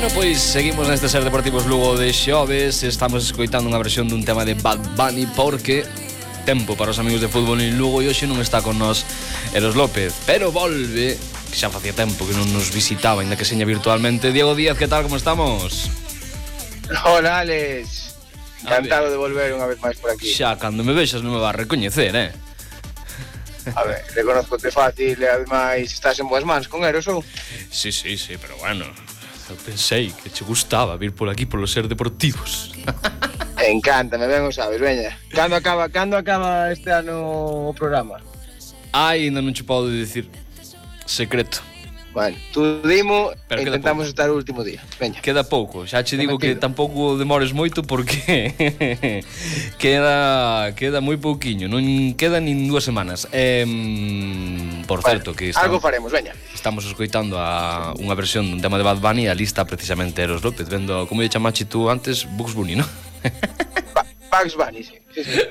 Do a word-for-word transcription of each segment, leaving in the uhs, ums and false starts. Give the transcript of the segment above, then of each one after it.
Bueno, pois seguimos neste Ser Deportivos Lugo de xoves. Estamos escoitando unha versión dun tema de Bad Bunny porque tempo para os amigos de fútbol en Lugo e hoxe non está con nós Eros López, pero volve, que xa facía tempo que non nos visitaba, ainda que seña virtualmente. Diego Díaz, que tal, como estamos? Hola, Alex. Encantado de volver unha vez máis por aquí. Xa, cando me vexas non me vas a recoñecer, eh? A ver, reconozco-te fácil e ademais estás en boas mans con Eros, ou? Sí, sí, sí, pero bueno, eu pensei que che gustaba vir por aquí polo Ser Deportivos. Encántame, ben o sabes, veña. Cando acaba, cando acaba este ano o programa? Ai, ainda non che podo dicir. Secreto. Bueno, tú dimo Pero e intentamos pouco. Estar o último día. Veña. Queda pouco, xa che digo que tampouco demores moito porque queda queda moi pouquiño, non queda nin dúas semanas. Eh, por bueno, certo que estamos, algo faremos, veña. Estamos escoitando a unha versión dun tema de Bad Bunny e a lista precisamente Eros López, vendo como lle chamache tú antes Bugs Bunny, ¿no? Bugs Bunny, sí. sí, sí.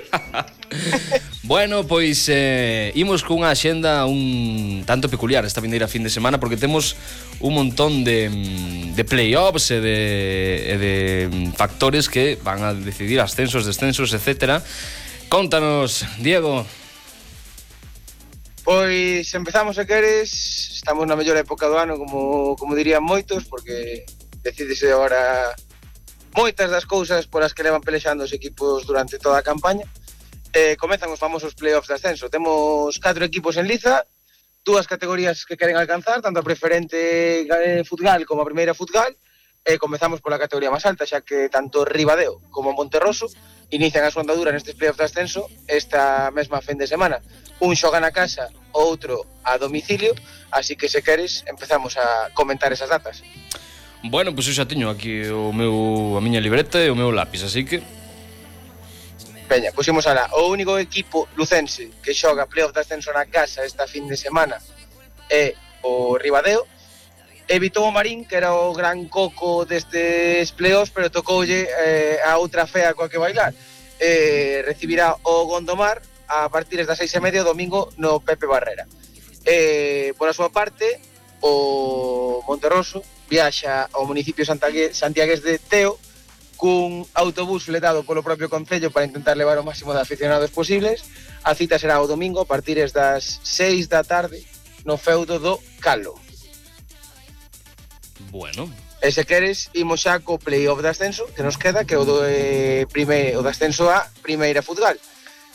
Bueno, pois eh, imos cunha axenda un tanto peculiar esta vindeira fin de semana porque temos un montón de, de play-offs e de, e de factores que van a decidir ascensos, descensos, etcétera. Contanos, Diego. Pois empezamos, se queres, estamos na mellor época do ano, como, como dirían moitos, porque decídese agora moitas das cousas polas que levan pelexando os equipos durante toda a campaña. Eh, comezan os famosos play-offs de ascenso. Temos catro equipos en liza, dúas categorías que queren alcanzar, tanto a preferente futgal como a primeira futgal. E eh, comezamos pola categoría máis alta, xa que tanto Ribadeo como Monterroso inician a súa andadura nestes play-offs de ascenso esta mesma fin de semana. Un xoga na casa, outro a domicilio, así que se queres empezamos a comentar esas datas. Bueno, pois pues eu xa teño aquí o meu, a miña libreta e o meu lápis, así que Peña, pusimos alá, o único equipo lucense que xoga playoff de ascenso na casa esta fin de semana é o Ribadeo. Evitou o Marín, que era o gran coco destes playoffs, pero tocoulle eh, a outra fea coa que bailar. Eh, recibirá o Gondomar a partir das seis e media o domingo no Pepe Barrera. Eh, por a súa parte, o Monterroso viaxa ao municipio santiagués de Teo cun autobús letado polo propio concello para intentar levar o máximo de aficionados posibles. A cita será o domingo a partir das seis da tarde no feudo do Calo. Bueno. E se queres, imos xa co play-off de ascenso que nos queda, que é o do eh, primeiro, o de ascenso a primeira futgal.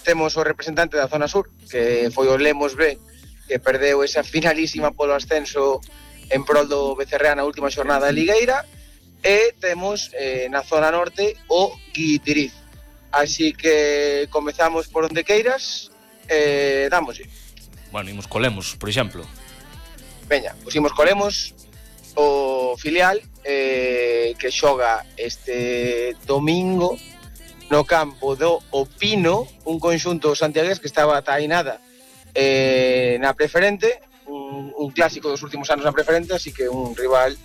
Temos o representante da zona sur, que foi o Lemos B, que perdeu esa finalísima polo ascenso en prol do Becerrea na última xornada de Ligueira. E temos eh, na zona norte o Guitiriz. Así que comezamos por onde queiras e eh, dámoslle. Bueno, imos colemos, por exemplo. Veña, pusimos colemos o filial eh, que xoga este domingo no campo do Opino, un conxunto santiagués que estaba tainada eh, na preferente, un, un clásico dos últimos anos na preferente, así que un rival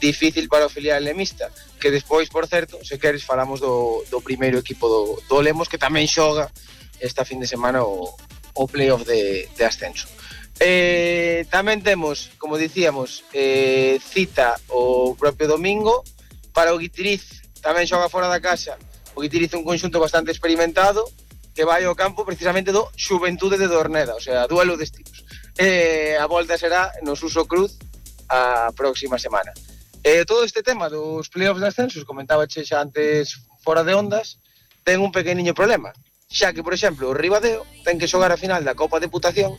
difícil para o filial lemista, que despois, por certo, se queres falamos do, do primeiro equipo do, do Lemos, que tamén xoga esta fin de semana o, o playoff de, de ascenso. Eh, tamén temos, como dicíamos, eh, cita o propio domingo para o Guitiriz, tamén xoga fora da casa. O Guitiriz é un conxunto bastante experimentado que vai ao campo precisamente do Xuventude de Dorneda, o sea, duelo de estilos. Eh, a volta será no Suso Cruz a próxima semana. Eh, todo este tema dos play-offs de ascensos, comentaba che xa antes fora de ondas, ten un pequeniño problema, xa que, por exemplo, o Ribadeo ten que xogar a final da Copa Deputación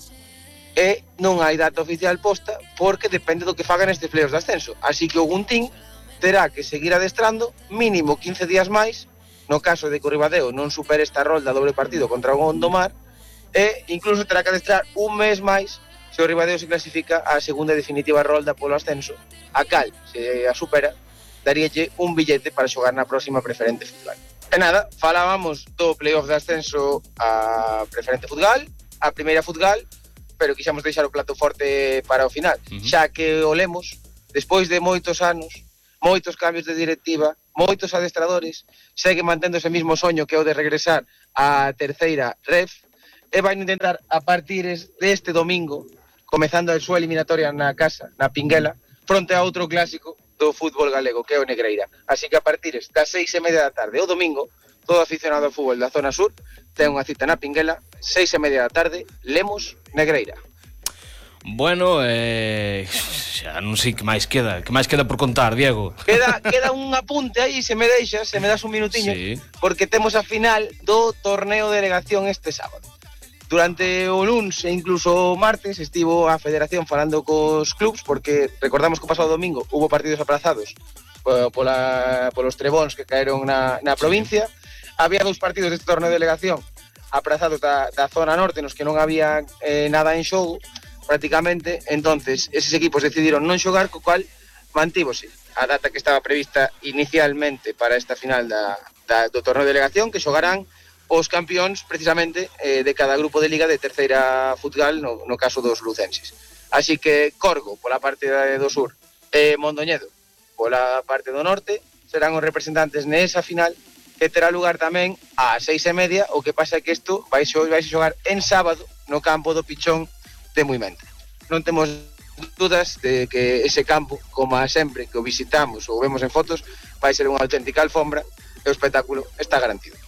e non hai data oficial posta porque depende do que fagan estes play-offs de ascenso, así que o Guntín terá que seguir adestrando mínimo quince días máis no caso de que o Ribadeo non supere esta rolda doble partido contra o Gondomar, e incluso terá que adestrar un mes máis se o Ribadeo se clasifica á segunda definitiva rolda polo ascenso, a cal, se a supera, daríalle un billete para xogar na próxima preferente futgal. E nada, falábamos do playoff de ascenso a preferente futgal, a primeira futgal, pero quixamos deixar o plato forte para o final, uh-huh. xa que o Lemos, despois de moitos anos, moitos cambios de directiva, moitos adestradores, segue mantendo ese mismo soño que é o de regresar á terceira ref, e vai intentar a partir deste domingo, comezando a súa eliminatoria na casa, na Pinguela, fronte a outro clásico do fútbol galego, que é o Negreira. Así que a partir das seis e media da tarde o domingo, todo aficionado ao fútbol da zona sur ten unha cita na Pinguela, seis e media da tarde, Lemos Negreira. Bueno, eh, xa non sei que máis queda, que máis queda por contar, Diego. Queda, queda un apunte aí, se me deixas, se me das un minutiño, sí. Porque temos a final do torneo de delegación este sábado. Durante o luns e incluso o martes estivo a Federación falando cos clubs, porque recordamos que o pasado domingo hubo partidos aprazados pola, polos trebóns que caeron na, na provincia. Sí. Había dous partidos deste torneo de delegación aprazados da, da zona norte, nos que non había eh, nada en xogo, prácticamente. Entonces eses equipos decidiron non xogar, co cual mantívose a data que estaba prevista inicialmente para esta final da, da, do torneo de delegación, que xogarán os campións precisamente eh, de cada grupo de liga de terceira futsal, no, no caso dos lucenses. Así que Corgo pola parte do sur e eh, Mondoñedo pola parte do norte serán os representantes nesa final, que terá lugar tamén ás seis e media. O que pasa é que isto vai xogar en sábado no campo do Pichón de Muimenta. Non temos dudas de que ese campo, como sempre que o visitamos ou vemos en fotos, vai ser unha auténtica alfombra e o espectáculo está garantido.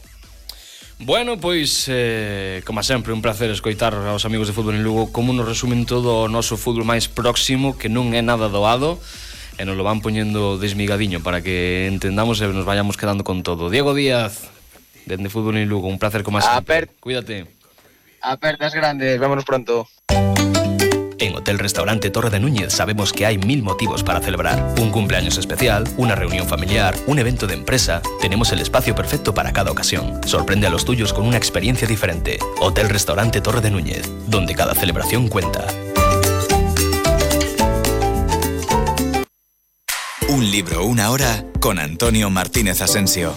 Bueno, pois, eh, como sempre, un placer escoitar aos amigos de Fútbol en Lugo como nos resumen todo o noso fútbol máis próximo, que non é nada doado, e nos lo van poñendo desmigadiño para que entendamos e nos vayamos quedando con todo. Diego Díaz, dende Fútbol en Lugo, un placer como sempre. Cuídate. Apertas grandes, vámonos pronto. En Hotel Restaurante Torre de Núñez sabemos que hay mil motivos para celebrar. Un cumpleaños especial, una reunión familiar, un evento de empresa. Tenemos el espacio perfecto para cada ocasión. Sorprende a los tuyos con una experiencia diferente. Hotel Restaurante Torre de Núñez, donde cada celebración cuenta. Un libro, una hora, con Antonio Martínez Asensio.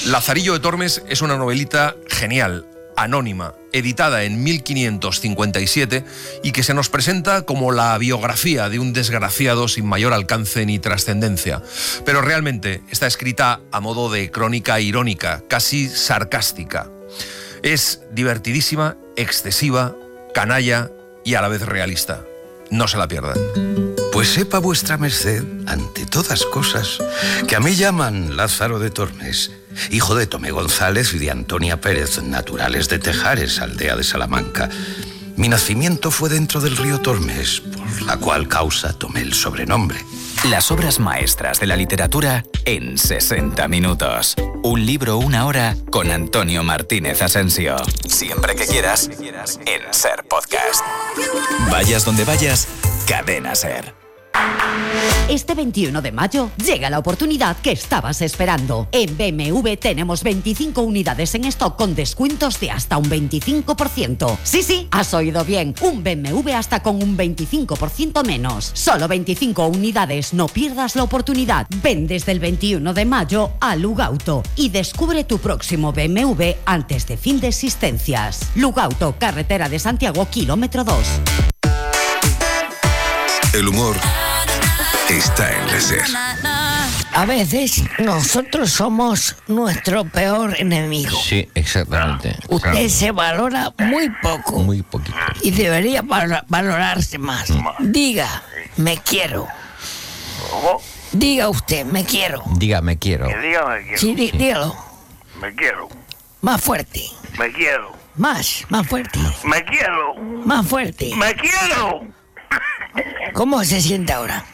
Lazarillo de Tormes es una novelita genial, anónima, editada en mil quinientos cincuenta y siete y que se nos presenta como la biografía de un desgraciado sin mayor alcance ni trascendencia. Pero realmente está escrita a modo de crónica irónica, casi sarcástica. Es divertidísima, excesiva, canalla y a la vez realista. No se la pierdan. Pues sepa vuestra merced, ante todas cosas, que a mí llaman Lázaro de Tormes, hijo de Tomé González y de Antonia Pérez, naturales de Tejares, aldea de Salamanca. Mi nacimiento fue dentro del río Tormes, por la cual causa tomé el sobrenombre. Las obras maestras de la literatura en sesenta minutos. Un libro, una hora, con Antonio Martínez Asensio. Siempre que quieras, en Ser Podcast. Vayas donde vayas, Cadena Ser. Este veintiuno de mayo llega la oportunidad que estabas esperando. En B M W tenemos veinticinco unidades en stock con descuentos de hasta un veinticinco por ciento. Sí, sí, has oído bien. Un B M W hasta con un veinticinco por ciento menos. Solo veinticinco unidades, no pierdas la oportunidad. Ven desde el veintiuno de mayo a Lugauto y descubre tu próximo B M W antes de fin de existencias. Lugauto, carretera de Santiago, kilómetro dos. El humor está en la Ser. A veces nosotros somos nuestro peor enemigo. Sí, exactamente. Usted claro. se valora muy poco. Muy poquito. Y debería valorarse más. Diga, me quiero. Diga usted, me quiero. Diga, me quiero. Que diga, me quiero. Sí, dí, sí. dígalo. Me quiero. Más fuerte. Me quiero. Más, más fuerte. Me quiero. Más fuerte. Me quiero. ¿Cómo se siente ahora?